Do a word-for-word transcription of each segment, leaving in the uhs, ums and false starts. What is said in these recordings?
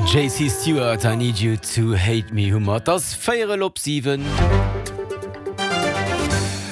JC Stewart, I Need You To Hate Me hu mer. Et ass véierel op siwen.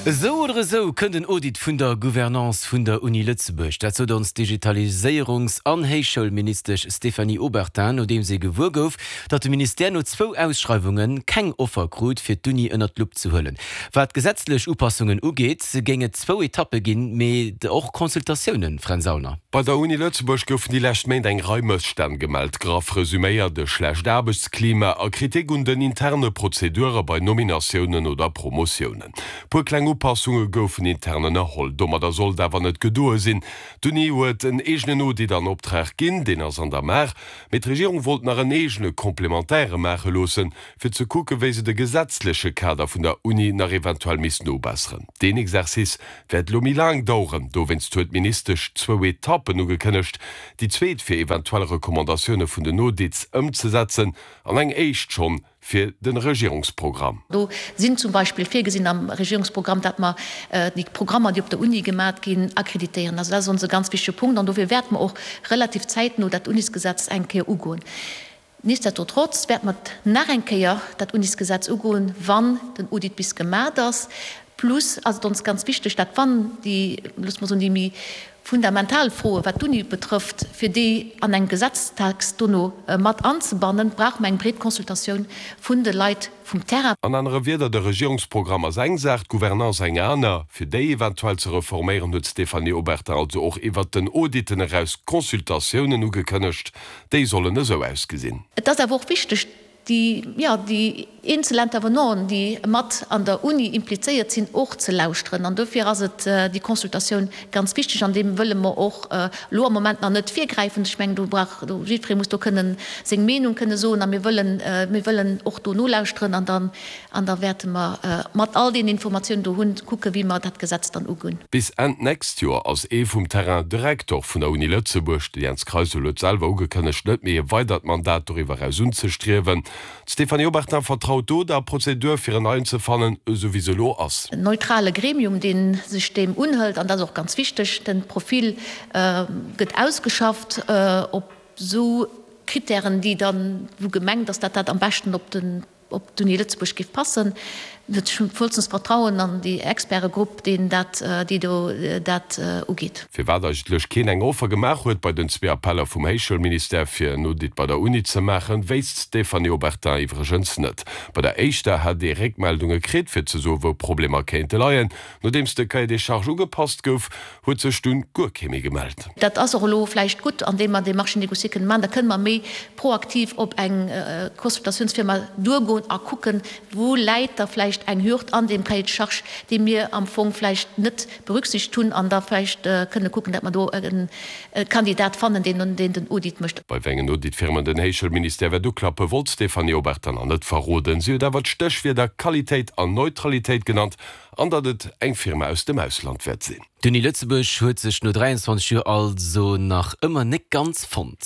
Esou oder esou kënnt en Audit vun der Gouvernance vun der Uni Lëtzebuerg. Dat sot ons Digitaliséierungs an Héichschoulministesch Stéphanie Obertin, nodeem si gewuer gouf, datt de Ministère no zwou Ausschreiwunge keng Offer krut, fir d'Uni ënnert d'Lupp ze huelen. Wat gesetzlech Upassungen ugeet, géing et zwou Etappe ginn, mee och Consultatiounen, Fränz Aulner. Bei der Uni Lëtzebuerg goufen déi lescht Méint eng Rei Mësstänn gemellt. Graff resuméiert, e schlecht Aarbechtsklima a Kritik un den interne Prozedure bei Nominatiounen oder Promotiounen. Puer kleng Upassunge goufen intern ënnerholl. Domadder sollt awer net gedoe sinn. D'Uni huet en eegenen Audit an Optrag ginn, deen ass an der Maach, mee d'Regierung wollt nach en eegene complémentaire maache loossen, fir ze kucken, wéi se de gesetzleche Kader vun der Uni nach eventuell misst nobesseren. Deen Exercice wäert lo méi laang daueren, dowéinst huet d'Ministesch zwou Etappen ugekënnegt, déi zweet fir eventuell Recommandatioune vun den Audits ëmzesetzen an eng éischt schonn fir de Regierungsprogramm. Do sinn zum Beispill virgesinn am Regierungsprogramm, datt mer déi Programmer, déi op der Uni gemat ginn, akkreditéieren. Also dat ass ons e ganz wichtege Punkt an dofir wäerte mer och relativ zäitno dat Unisgesetz eng Kéier ugoen. Nichtsdestotrotz wäerte mer nach eng Kéier dat Unisgesetz ugoen, wann den Audit bis gemat ass. Plus ass et ons ganz wichteg, datt wann déi, loosse mer soen, déi méi fundamental Froe wat d'Uni betrëfft, fir déi an engem Gesetztext dono mat anzebannen, brauche mer eng breet Consultatioun vun de Leit vum Terrain. An anere Wierder, de Regierungsprogramm ass eng Saach, d'Gouvernance eng aner. Fir déi eventuell ze reforméieren, huet d'Stéphanie Obertin also och iwwert den Auditen eraus Consultatiounen ugekënnegt. Déi sollen esou ausgesinn. Et ass awer och wichteg, déi, jo, déi eenzel Intervenanten, déi mat an der Uni implizéiert sinn, och ze lauschteren. An dofir ass et déi Consultatioun ganz wichteg. An deem wëlle mer och elo am Moment nach net virgräifen. Ech mengen, do brauch, do, jiddweree muss do kënnen seng Meenung kënne soen. A mir wëllen, mir wëllen och do nolauschteren. An dann, an da wäerte mer mat all deenen Informatiounen do hunn, kucken, wéi mer dat Gesetz dann ugoen. Bis Enn d'nächst Joer ass ee vum Terrain de Rektor vun der Uni Lëtzebuerg. De Jens Kreisel huet selwer ugekënnegt, net méi e weidert Mandat doriwwer eraus unzestriewen. D'Stéphanie Obertin vertraut do der Prozedur, fir en Neien ze fannen, esou wéi se elo ass. En neutrale Gremium, dee sech deem unhëlt, an dat ass och ganz wichteg, de Profil gëtt ausgeschafft op esou Kritären, déi dann, wou gemengt ass, datt dat am beschten op den op d'Uni Lëtzebuerg géif passen. Ech hunn vollstens Vertrauen an déi Expertegrupp, deen dat, déi do dat ugeet. Firwat eigentlech keen eng Offer gemaach huet bei den zwee Appeller vum Héichschoulministère fir en Audit bei der Uni ze maachen, wéisst d'Stéphanie Obertin iwwregens net. Bei der éischter hätt ee Réckmeldunge kritt fir ze soen, wou Problemer kéinte leien. Nodeems de Cahier des charges ugepasst gouf, huet sech dunn guer kee méi gemellt. Dat ass och elo vläicht gutt, andeem mer dee Marché négocié kënne maachen. Da kënne mer méi proaktiv op eng Consultatiounsfirma duergoen a kucken, wou läit da vläicht eng Hürd an deem Cahier de charges, déi mir am Fong vläicht net berücksichtegt hunn, an da vläicht kënne kucken, datt mer do e Kandidat fannen, deen den Audit mécht. Bei wéi engen Auditfirmen den Héichschoulministère wäert uklappen, wollt d'Stéphanie Obertin nach net verroden. Si huet awer d'Stéchwierder Qualitéit an Neutralitéit genannt an datt et eng Firma aus dem Ausland wäert sinn. D'Uni Lëtzebuerg huet sech no dräianzwanzeg Joer also nach ëmmer net ganz fonnt.